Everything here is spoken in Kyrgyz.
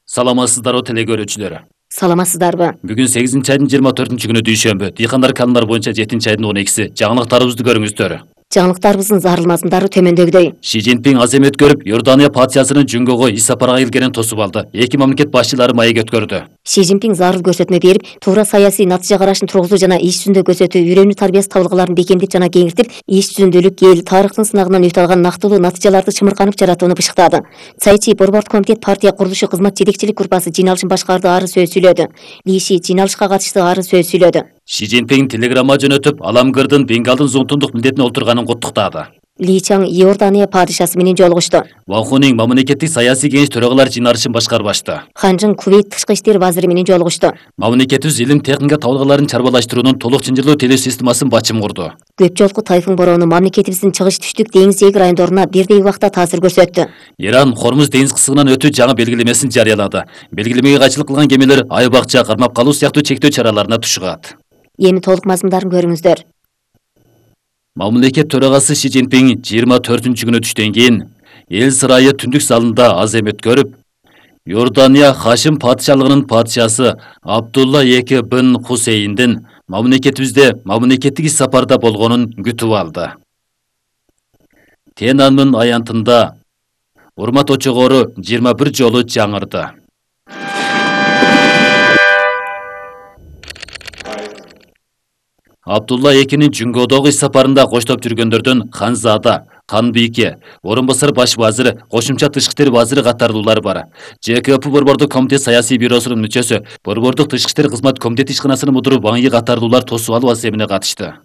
Саламатсыздарбы телекөрүүчүлөр. Саламатсыздарбы? Бүгүн 8-айдын 24-күнү дүйшөмбү. Дыйкандар канундар боюнча 7-айдын 12-си. Жаңылыктарыбызды көрүңүздөр. Жаңылыктарыбыздын зарылмасындары төмөндөгүдөй. Ши Цзиньпин азем өткөрүп, Иордания патшасынын Жүнгөгө иш сапарга келгенин тосуп алды. Эки мамлекет башчылары маек өткөрдү. Ши Цзиньпин зарыл көрсөтмө берип, туура саясий натыйжа карашын тургузуу жана иш жүзүндө көрсөтүү, үйрөнүү тарбиясы табылгаларын бекемдеп жана кеңиртип, иш жүзүндөлүк эл тарыхтын сынагынан өтө алган нактылуу натыйжаларды чымырканып жаратууну бышыктады. Цайчи борбордук комитет партия курулушу кызмат жетекчилик группасы жыйналышын башкарды, ары сөз сүйлөдү. Ли Ши жыйналышка катышты, ары сөз сүйлөдү. Ши Цзиньпин телеграмма жөнөтүп, Аламгырдын Бенгалдын зуңтундук милдетине отурганын куттуктады. Ли Чаң Иордания падышасы менен жолугушту. Вахунин мамлекеттик саясий кеңеш төрагалар жыйналышын башкарып ачты. Ханжың Кувейт тышкы иштер вазири менен жолугушту. Мамлекетибиз илим техника табылгаларын чарбалаштыруунун толук чынжырлуу телөө системасын бачым курду. Көп жолку тайфун бороону мамлекетибиздин чыгыш түштүк деңиз эгер райондоруна бирдей убакта таасир көрсөттү. Иран Хормуз деңиз кысыгынан өтүү жаңы белгилемесин жарыялады. Белгилемеге кайчылык кылган кемелер ай бакча кармап калуу сыяктуу чектөө чараларына тушугат. Эми толук мазмундарын көрүңүздөр. Мамлекет төрагасы Ши Цзиньпин 24-күнү түштөн кийин эл сырайы түндүк залында азем өткөрүп, Иордания Хашим патшалыгынын патшасы Абдулла II бин Хусейндин мамлекетибизде мамлекеттик иш сапарда болгонун күтүп алды. Тенанмын аянтында урмат очогору 21 жолу жаңырды. Абдулла II Жүнгөдөгү иш сапарында коштоп жүргөндөрдөн Ханзада, Канбийке, орун басар баш вазир, кошумча тышкы иштер вазири катардуулар бар. ЖКП борбордук комитет саясий бюросунун мүчөсү, борбордук тышкы иштер кызмат комитети ишканасынын мудуру Ваң Йи катардуулар тосуп алуу аземине катышты.